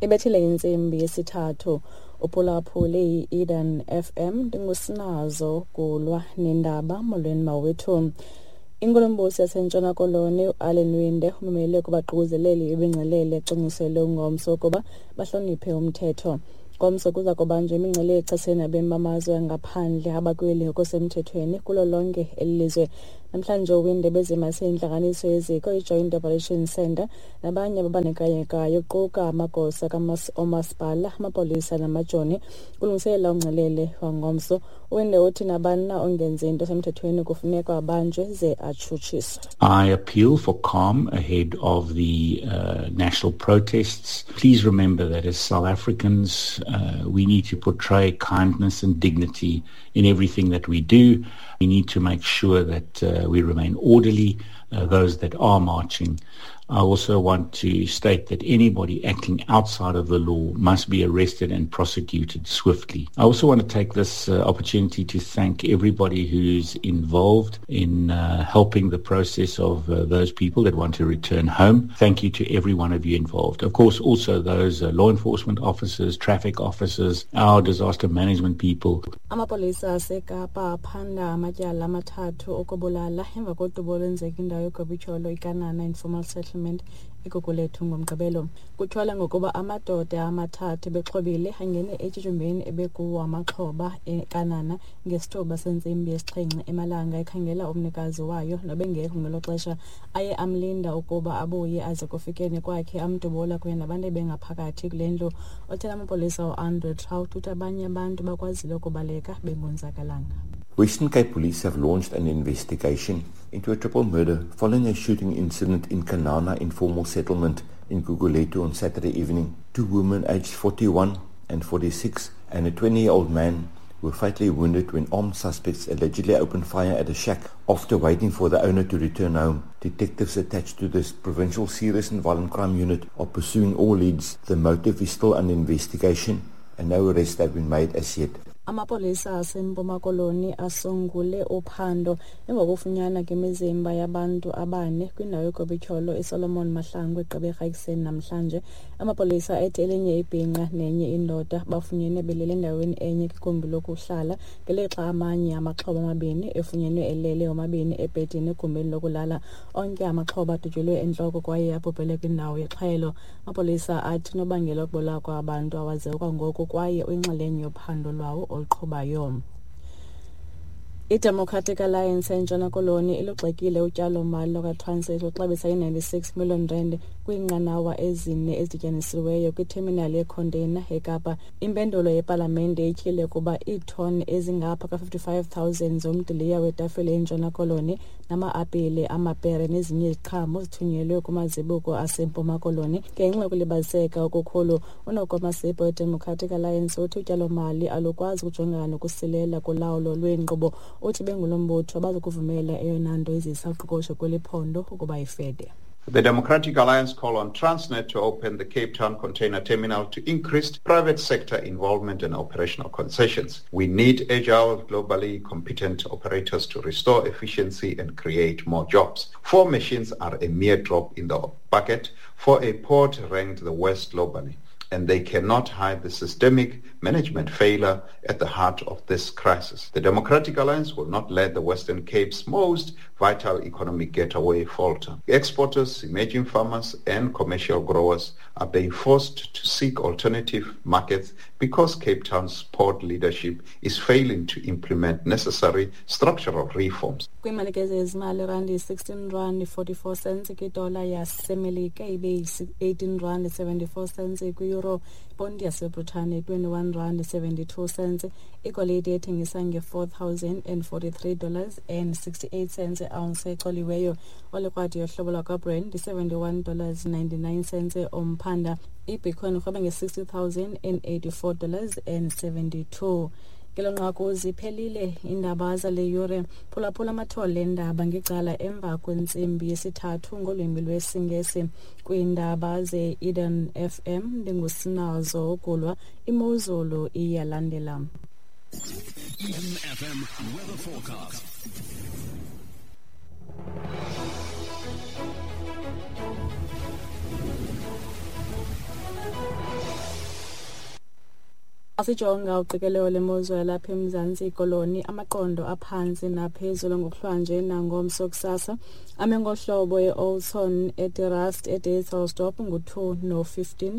Ibethile intsimbi yesithathu. Uphulaphule i-Eden FM, ndingusinazo Gulwa nendaba. Molweni mawethu. Inkulumbuso yaseNtshona Koloni uAllan Winde umemele kubaququzeleli bemingcelele ecwangciselwe ngomso ukuba bahloniphe umthetho. Ngomso kuza kubanjwa imingcelele echasene nabemi bamazwe angaphandle abakweli ngokusemthethweni kulo lonke eli lizwe. Namhlanje uWinde bezimase intlanganiso yeziko iJoint Operations Centre nabanye ababandakanyekayo kuquka amagosa oomasipala, amapolisa namajoni kulungiselela umngcelele wangomso. uWinde uthi nabani na ongenzi into esemthethweni kufuneka abanjwe ze atshutshiswe. I appeal for calm ahead of the national protests. Please remember that as South Africans, we need to portray kindness and dignity in everything that we do. We need to make sure that we remain orderly, those that are marching. I also want to state that anybody acting outside of the law must be arrested and prosecuted swiftly. I also want to take this opportunity to thank everybody who's involved in helping the process of those people that want to return home. Thank you to every one of you involved. Of course, also those law enforcement officers, traffic officers, our disaster management people. Amapolisa aseKapa aphanda amatyala amathathu okubulala emva kodubo olwenzeka indawo yogobityholo iKanana Informal Settlement eGugulethu ngoMgqibelo. Kutyholwa ngokuba amadoda amathathu bexhobile angene etyotyombeni ebekuwo amaxhoba eKanana ngesithuba sentsimbi yesixhenxe emalanga ekhangela umnikazi wayo nobengekho ngelo xesha. Aye amlinda ukuba abuye aze kufikeni kwakhe amdubula kunye nabantu ebengaphakathi kule ndlu. Othela amapolisa uAndrew Trout uthi abanye abantu bakwazile ukubaleka bengonzakalanga. Western Cape Police have launched an investigation into a triple murder following a shooting incident in Kanana informal settlement in Gugulethu on Saturday evening. Two women aged 41 and 46 and a 20-year-old man were fatally wounded when armed suspects allegedly opened fire at a shack after waiting for the owner to return home. Detectives attached to this provincial serious and violent crime unit are pursuing all leads. The motive is still under investigation and no arrests have been made as yet. Amapolisa aseMpuma Koloni asungule uphando emva kokufunyanwa kwemizimba yabantu abane kwindawo yogobityholo iSolomon Mahlangu eGqeberha ekuseni namhlanje. Amapolisa ethi elinye ibhinqa nenye indoda bafunyenwe belele endaweni enye kwigumbi lokuhlala, ngelixa amanye amaxhoba amabini efunyenwe elele omabini ebhedini egumbini lokulala. Onke amaxhoba adutyulwe entloko kwaye abhubhele kwindawo yexhwayelo. Amapolisa athi unobangela wokubulawa kwabantu awaziwa kwangoku kwaye uyinxalenye yophando lwawo oluqhubayo. I-Democratic Alliance eNtshona Koloni ilugxekile utyalo-mali lwakwaTransnet oluxabisa i-96 million rand kwiinqanawa ezine ezidityanisiweyo kwiterminali yeekhonteyina eKapa. Impendulo yepalamente ityhile ukuba iithoni ezingapha ka-55,000 zomdiliya wetafile eNtshona Koloni nama-apile, amapere nezinye iziqhamo zithunyelwe kumazibuko aseMpuma Koloni ngenxa yokulibaziseka okukhulu. UNoko Masipo weDemocratic Alliance uthi utyalo-mali alukwazi ukujongana nokusilela kolawulo lweenkqubo. Uthi bengulo mbutho abazukuvumela eyona nto izisa uqoqosho kweli phondo ukuba ifede. The Democratic Alliance call on Transnet to open the Cape Town Container Terminal to increase private sector involvement and operational concessions. We need agile, globally competent operators to restore efficiency and create more jobs. 4 machines are a mere drop in the bucket for a port ranked the worst globally, and they cannot hide the systemic management failure at the heart of this crisis. The Democratic Alliance will not let the Western Cape's most vital economic getaway falter. Exporters, emerging farmers and commercial growers are being forced to seek alternative markets because Cape Town's port leadership is failing to implement necessary structural reforms. Kwiimalike zezimali, irandi yi-16 rand 44 cents kwidola yaseMelika, ibe yi-18 rand 74 cents kwi-euro, iponti yaseBritane 21 rand 72 cents, igolide ethengisa nge-$4,043 dollars and 68 cents ounce ecoliweyo, olikrwadi yohlobo lwakwaBrent yi-71 dollars 99 cents umphanda, ibitcoin irhweba nge-$60,084 dollars and 72. Ngelo nqaku ziphelile iindaba zale yure. Phulaphula amathole eendaba ngecala emva kwentsimbi yesithathu ngolwimi lwesiNgesi. Kwiindaba ze-Eden FM ndingusinazo Gulwa. Imozulu iyalandela. Eden FM weather forecast. Asijonga uqikelelo lemozulu yalapha eMzantsi Koloni, amaqondo aphantsi naphezulu ngokuhlwanje nangomso kusasa ame ngohlobo: e-Oudtshoorn, eDe-Rust, eDysselsdorp ngu-2 no-15,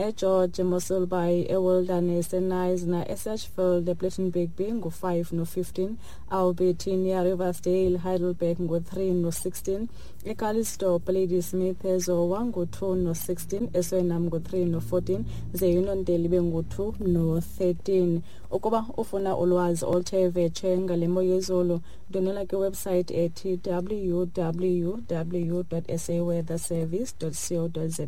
eGeorge, eMossel Bay, eWilderness, eKnysna, eSachsfield, ePlettenberg Bay ngu-5 no-15, Albertinia, Riversdale, Heidelberg ngu-3 no-16, eCalitzdorp, Ladysmith, eZowa ngu-2 no-16, eSuriname ngu-3 no-14, ze Uniondale ibe ngu-2 no-13. Ukuba ufuna ulwazi oluthe vetshe ngale mo yezulu, ndwendwela kwiwebsayithi ethi www.saweatherservice.co.za.